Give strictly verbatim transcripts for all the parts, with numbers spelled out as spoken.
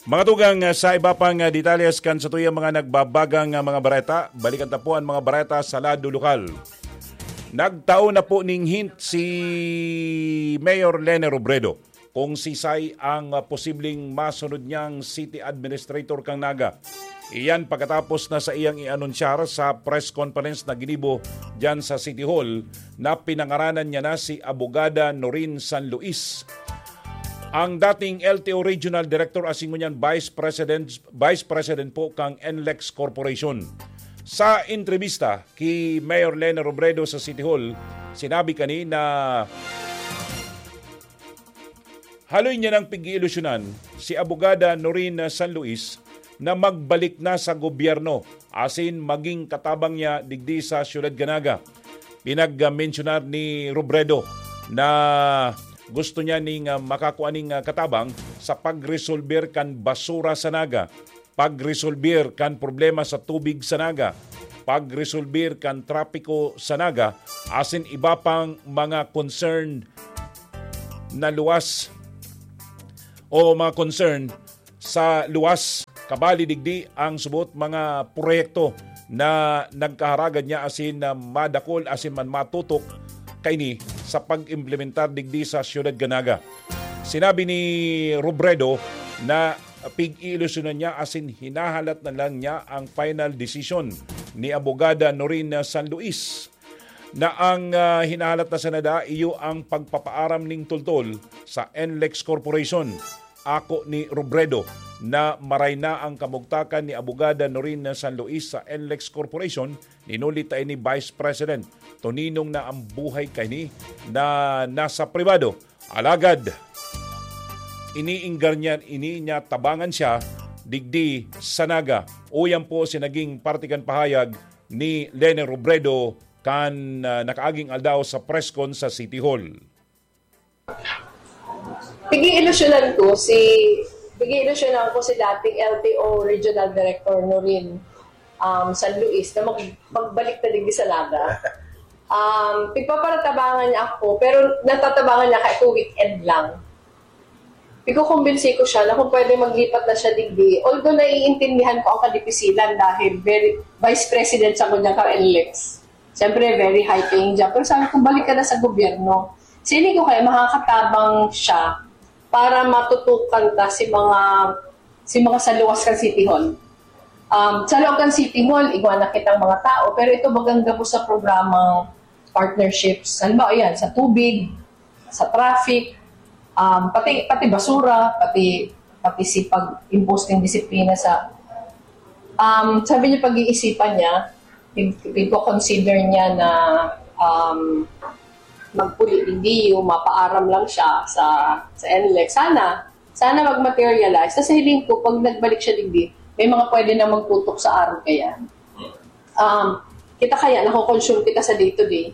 Mga tugang, ah, sa iba pang, ah, detalles kan satuyang mga nagbabagang, ah, mga bareta, balikan ta po ang mga bareta sa lado lokal. Nagtao na po ning hint si Mayor Lene Robredo kung sisay ang, ah, posibleng masunod niyang city administrator kan Naga. Iyan pagkatapos na sa iyang i-anunsyar sa press conference na ginibo diyan sa City Hall na pinangaranan niya na si Abogada Norin San Luis. Ang dating L T O Regional Director asin ngunyan Vice President, Vice President po kang NLEX Corporation. Sa entrebista ki Mayor Lene Robredo sa City Hall, sinabi kani na haloy niya nang pig-iilusyonan si Abogada Noreen San Luis na magbalik na sa gobyerno asin maging katabang niya digdi sa Siyudad kan Naga. Pinag-mensyonar ni Robredo na gusto niya ning, ah, makakua ning, ah, katabang sa pagresolber kan basura sa Naga, pagresolber kan problema sa tubig sa Naga, pagresolber kan trapiko sa Naga, asin iba pang mga concern na luwas o mga concern sa luwas. Kabali digdi ang subot mga proyekto na nagkaharagad niya asin na madakol asin man matutok kaini sa pag-implementar digdi sa Siyudad kan Naga. Sinabi ni Robredo na pig-iilusyonan niya asin hinahalat na lang niya ang final decision ni Abogada Noreen San Luis na ang, ah, hinahalat na sana da iyo ang pagpapaaram ning tultol sa NLEX Corporation. Ako ni Robredo na maray na ang kamugtakan ni Abogada Noreen San Luis sa NLEX Corporation, ninuli ta ini Vice President. Toninong na ang buhay kaini na nasa pribado. Alagad, iniinggar niya, ini niya tabangan siya digdi sa Naga. Uyan po si naging parte kan pahayag ni Lene Robredo kan, ah, nakaaging aldaw sa press con sa City Hall. Pag-iilusyonan ko si pag-iilusyonan ko si dating L T O Regional Director Norin, um, San Luis na mag- magbalik na digdi sa Naga. Um, pigpaparatabangan niya ako, pero natatabangan niya kahit weekend lang. Pigkukumbinsi ko siya na kung pwede maglipat na siya digdi. Although naiintindihan ko ang kadipisilan dahil very, vice president sa kanya ka NLEX. Siyempre, very high paying job. Pero sabi ko, balik ka na sa gobyerno. Sini ko kaya makakatabang siya para matutukan ta si mga si mga sa luwas kan City Hall. Um, sa loob kan City Hall, igwa na kitang mga tao, pero ito bagang gabos sa programang partnerships. Halimbawa, yan, sa tubig, sa traffic, um, pati, pati basura, pati, pati si pag-impose ng disiplina sa, um, sabi niya, pag-iisipan niya, pig-, pigko-consider niya na, um, magpuli digdi o mapaaram lang siya sa, sa NLEX. Sana, sana mag-materialize. Sa hiling ko, pag nagbalik siya digdi, may mga pwede na magtutok sa araw kaya. Um, kita kaya, nako-consume kita sa day-to-day,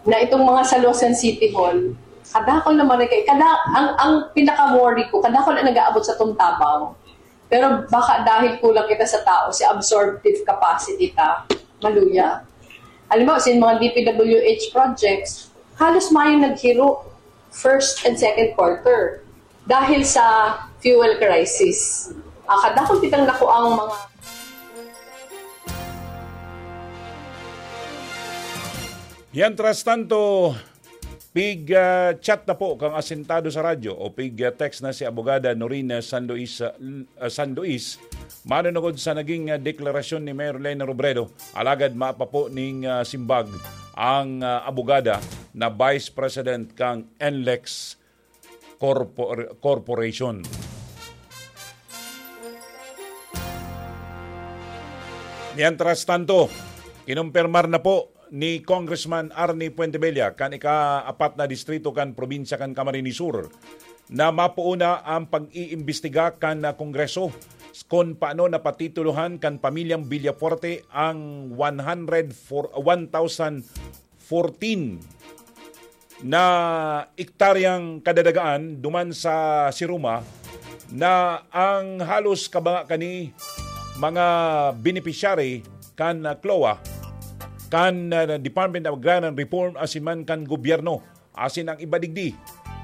na itong mga Salosan City Hall, kadakol naman rin kay, kada, ang, ang pinaka-worry ko, kadakol ang nag-aabot sa Tuntabaw. Pero baka dahil kulang kita sa tao, si absorptive capacity ta, maluya. Alam mo, sa mga D P W H projects, halos mayong naghiro first and second quarter dahil sa fuel crisis. Ah, kadakol kitang nakuang mga Mientras tanto, pig, ah, chat na po kang asentado sa radyo o pig, ah, text na si Abogada Norina San Luis, ah, L-, ah, San Luis, manunungod sa naging, ah, deklarasyon ni Mayor Lene Robredo. Alagad mapa po ning, ah, simbag ang, ah, abogada na Vice President kang NLEX Corpor-, Corporation. Mientras tanto, kinumpirmar na po ni Congressman Arnie Fuentebella kan ika-apat na distrito kan probinsya kan Camarines Sur na mapoon na ang pag-iimbestiga kan, ah, Kongreso kung paano napatitulohan kan pamilyang Villafuerte ang one hundred four, one thousand fourteen na ektaryang kadadagaan duman sa Siruma na ang halos kabanga kani mga beneficiary kan, ah, CLOA, kan, ah, Department of Agrarian Reform asin man kan gobyerno asin ang iba digdi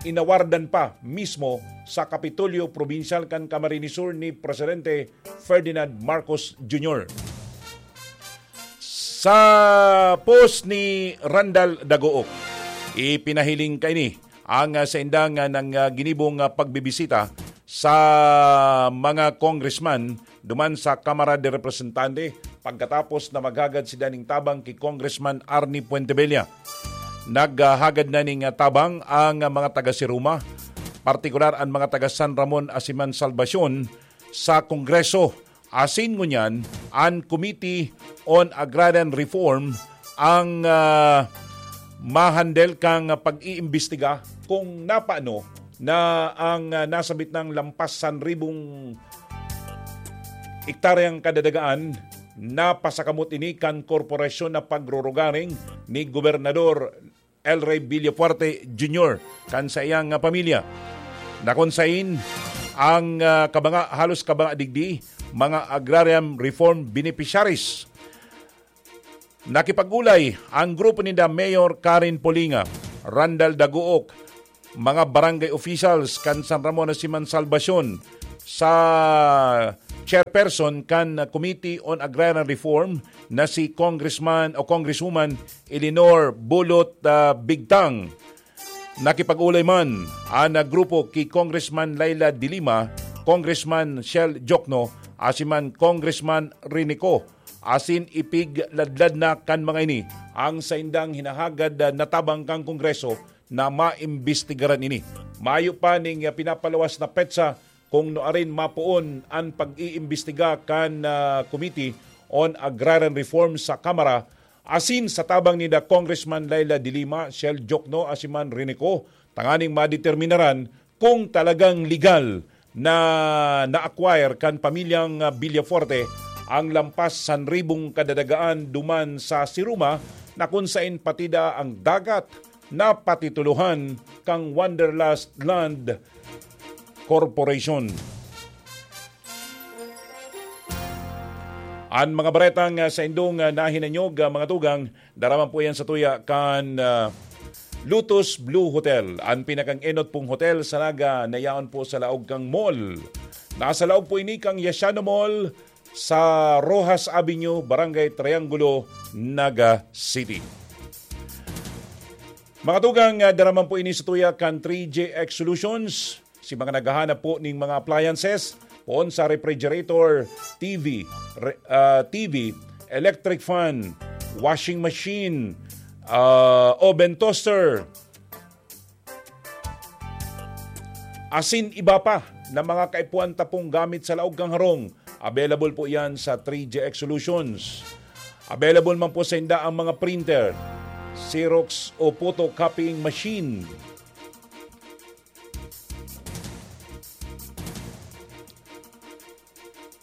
inawardan pa mismo sa Kapitolyo Probinsyal kan Camarines Sur ni Presidente Ferdinand Marcos Junior. Sa post ni Randal Dagook, ipinahiling kaini ang, ah, saindang, ah, nang, ah, ginibong, ah, pagbibisita sa mga congressman duman sa Kamara de Representante pagkatapos na maghagad sila ning tabang ki Congressman Arnie Fuentebella. Naghagad na ning, ah, tabang ang, ah, mga taga Siruma, partikular an mga taga San Ramon Asiman Salvacion sa Kongreso. Asin ngunyan, an Committee on Agrarian Reform ang, ah, mahandle kang pag-iimbestiga kung napano na ang, ah, nasabit nang lampas san ribong ektaryang kadadagaan na pasakamot ini kan korporasyon na pagrurugaring ni Gobernador El Rey Villafuerte Junior kan saiyang, ah, pamilya. Na kun sain ang, ah, kabanga, halos kabanga digdi, mga agrarian reform beneficiaries. Nakipag-olay ang grupo ninda Mayor Karen Polinga, Randal Daguok, mga barangay officials kan San Ramon Asiman Salvacion, sa chairperson kan Committee on Agrarian Reform na si Congressman o Congresswoman Eleanor Bulot, ah, Bigtang. Nakipag-olay man an grupo ki Congressman Laila de Lima, Congressman Shell Jokno, asin man Congressman Rinico, asin ipigladlad na kan mga ini ang saindang hinahagad na tabang kan Kongreso na maimbestigaran ini. Mayo pa ning pinapaluwas na petsa kung nuarin mapoon an pag-iimbestiga kan, ah, Committee on Agrarian Reform sa Kamara, asin sa tabang ninda Congressman Laila de Lima, Shell Jokno, asin man Rinico, tanganing madeterminaran kung talagang legal na na-acquire kan pamilyang, ah, Villafuerte ang lampas san ribong kadadagaan duman sa Siruma, na kun sain pati daa ang dagat napatitulohan kan Wanderlust Land Corporation. An mga baretang, ah, saindong, ah, nahinanyog, ah, mga tugang, daraman po yan sa tuya kan, ah, Lotus Blue Hotel, an pinakang enot pong hotel sa Naga na yaon po sa laog kang mall. Nasa laog po ini kang Yashano Mall sa Roxas Avenue, Barangay Triangulo, Naga City. Mga tugang, ah, daraman po ini sa tuya kan three G X Solutions. Si mga naghahanap po ning mga appliances, poon sa refrigerator, T V, re-, ah, T V, electric fan, washing machine, ah, oven toaster, asin iba pa na mga kaipuhan ta pong gamit sa laog kan harong. Available po yan sa three G X Solutions. Available man po sa inda ang mga printer, Xerox o photocopying machine.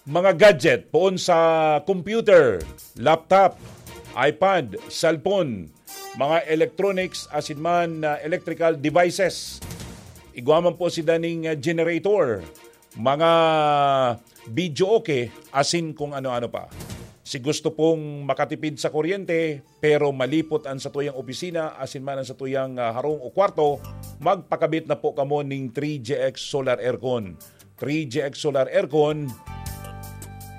Mga gadget, poon sa computer, laptop, iPad, cellphone, mga electronics, asin man, ah, electrical devices. Igwa man po si daning, ah, generator, mga video okay, asin kung ano-ano pa. Si gusto pong makatipid sa kuryente, pero malipot an satuyang opisina, asin man an satuyang, ah, harong o kwarto, magpakabit na po kamo ning three G X Solar Aircon. Three G X Solar Aircon,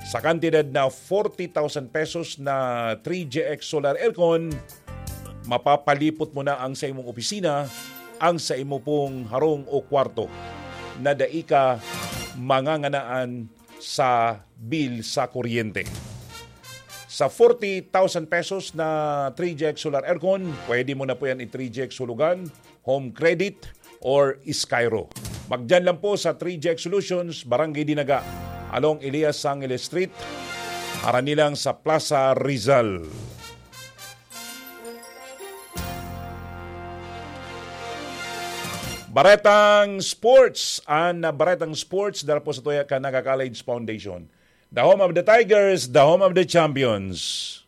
sa kantidad na forty thousand pesos na three G X Solar Aircon, mapapalipot mo na ang sa imong opisina, ang sa imo pong harong o kwarto, na dai ka manganganaan sa bill sa kuryente. Sa forty thousand pesos na three G X Solar Aircon, pwede mo na po yan i-three G X Hulugan, Home Credit, or Skyro. Magdiyan lang po sa three G X Solutions, Barangay Dinaga, along Elias Angeles Street, harani lang sa Plaza Rizal. Baretang Sports, an Baretang Sports, dara po sa tuya kan Naga College Foundation. The home of the Tigers, the home of the champions.